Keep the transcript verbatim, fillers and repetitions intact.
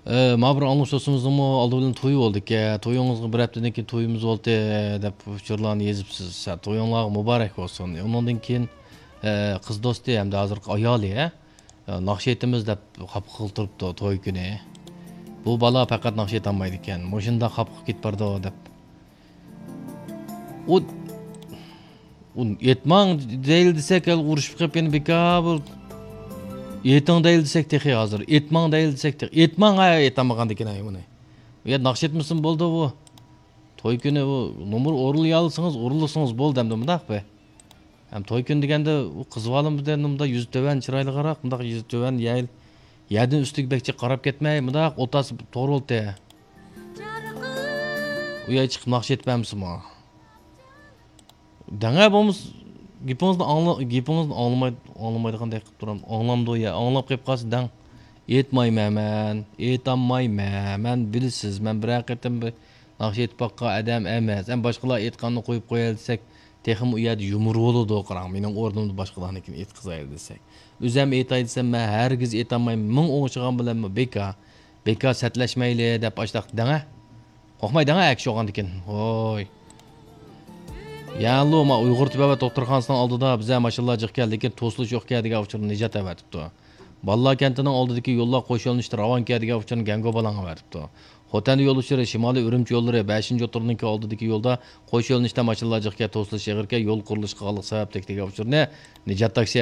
ئە، ما بىر ئاڭلىغۇچىمىزنىڭمۇ ئالدى بىلەن تويى بولدىكەن. تويىڭىزغا بىر ھەپتىدىن كېيىن تويىمىز بولدى، دەپ ئۇچۇرلارنى يېزىپسىز. ھە، تويۇڭلارغا مۇبارەك بولسۇن. ئۇنىڭدىن كېيىن، ئە، قىز دوستى ھەمدە ھازىرقى ئايالى، ھە، ناخشا ئېيتىمىز دەپ خاپا قىلىپ تۇرۇپتۇ توي كۈنى. بۇ بالا پەقەت ناخشا ئېيتالمايدىكەن. مۇشۇنداق خاپا قىلىپ كېتىپ بارىدۇ، دەپ. ئۇ، ئۇ ئېيتماڭ دەيلى دېسەك، ھەل ئۇرۇشۇپ قېلىپ يەنە بىكار بۇ. ئېيتىڭ دەيلى دېسەك تېخى ھازىر. ئېيتماڭ دەيلى دېسەك تېخى. ئېيتماڭ، ھە، ئېيتالمىغاندىكىن، ھە، بۇنى. ئۇ يەردە ناخشا ئېيتمىسىمۇ بولىدۇ بۇ. توي كۈنى ئۇ نومۇر ئورۇنلىيالىسىڭىز، ئورۇنلىسىڭىز بولدى ئەمدى مۇنداق بى. ھەم توي كۈنى دېگەندە ئۇ قىز بالىمىز دېگەندە مۇنداق يۈزى تۆۋەن، چىرايلىقراق، مۇنداق يۈزى تۆۋەن، يەل-، يەردىن ئۈستىگە بەك جىق قاراپ كەتمەي، مۇنداق ئولتۇرسا توغرا بولدى. ئۇ يەرگە چىقىپ ناخشا ئېيتىپ بەرمىسىمۇ؟ دەڭە بولمىسا، گېپىڭىزنى ئاڭلا-، گېپىڭىزنى ئاڭلىماي-، ئاڭلىمايدىغاندەك قىلىپ تۇرام. ئاڭلامدۇ يا؟ ئاڭلاپ قېلىپ قالسا دەڭ. ئېيتمايمەن مەن، ئېيتالمايمەن. مەن بىلىسىز، مەن بىرەر قېتىم بىر ناخشا ئېيتىپ باققان ئادەم ئەمەس. ئەمما باشقىلار ئېيتقاننى قويۇپ قوياي دېسەك، تېخىمۇ ئۇ يەردە يۇمۇر بولىدۇ. قاراڭ، مېنىڭ ئورنۇمدا باشقىلارنىڭكىنى ئېيتقۇزايلى دېسەك. ئۆزەم ئېيتاي دېسەم، مەن ھەرگىز ئېيتالمايمەن. مىڭ ئوڭشىغان بىلەنمۇ بىكار. بىكار سەتلەشمەيلى دەپ ئاشتاق دەڭە. قورقماي دەڭە ئەكشى بولغاندىكىن. ھوي. يەنىلا ما ئۇيغۇر تېبابەت دوختۇرخانىسىنىڭ ئالدىدا بىزە ماشىنىلار جىقكەن، لېكىن توسۇلۇش يوقكەن دېگەن ئۇچۇرنى نىجات ئەۋەتىپتۇ. بالىلار كەنتىنىڭ ئالدىدىكى يوللار قوش يۆنىلىشتە راۋانكەن دېگەن ئۇچۇرنى گەڭگو بالاڭ ئەۋەتىپتۇ. خوتەن يول ئۇچۇرى، شىمالىي ئۈرۈمچى يوللىرى، بەشىنچى ئوتتۇرىنىڭكى ئالدىدىكى يولدا قوش يۆنىلىشتە ماشىنىلار جىقكەن، توسۇلۇش ئېغىركەن، يول قۇرۇلۇشى قىلغانلىق سەۋەبلىك دېگەن ئۇچۇرنى نىجات تاكسى